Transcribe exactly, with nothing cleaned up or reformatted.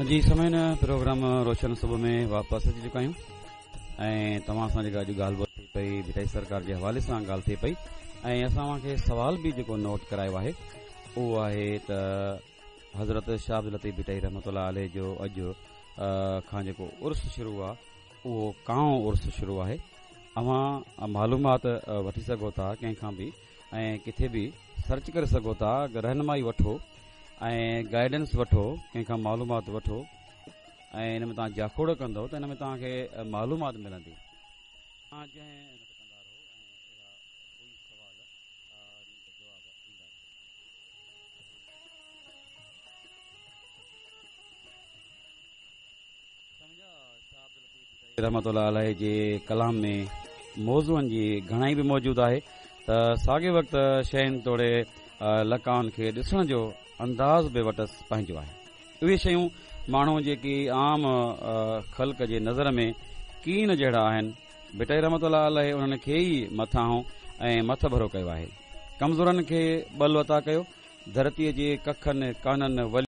جي سامعين پروگرام روشن صبح ۾ واپس اچي چڪا آهيون ۽ توهان سان جيڪا اڄ ڳالهه ٻولهه ٿي پئي ڀٽائي سرڪار جي حوالي سان ڳالهه ٿي پئي ۽ اسان اوهان کي سوال به جيڪو نوٽ ڪرايو آهي اهو آهي ته حضرت شاهه عبداللطيف ڀٽائي رحمت الله عليه جو اڄ کان جيڪو عرس شروع آهي اهو ڪائون عرس شروع آهي اوهان معلومات وٺي سگهو ٿا ڪنهن کان به ۽ ڪٿي به سرچ ڪري سگهو ٿا رهنمائي وٺو ۽ گائيڊنس وٺو ڪنهن کان معلومات وٺو ۽ ان ۾ توهان جاکوڙ ڪندؤ ته ان ۾ توهان کي معلومات ملندي توهان جنهن ڪندا رهو ۽ اهڙا ڪوئي سوال جواب ايندا رهن. رحمة الله عليه جي ڪلام ۾ موضوعن جي گهڻائي به موجود آهي ته ساڳئي وقت شين توڙي لقائن کي ڏسڻ جو انداز به وٽس پنهنجو آهي. اهي شيون ماڻهو جيڪي عام خلق جي نظر ۾ ڪين جهڙا آهن، ڀٽائي رحمة الله عليه انهن کي ئي مٿانهون ۽ مٿڀرو ڪيو آهي. ڪمزورن کي ٻل عطا ڪيو، ڌرتيء جي ڪکن، ڪانن، ولين،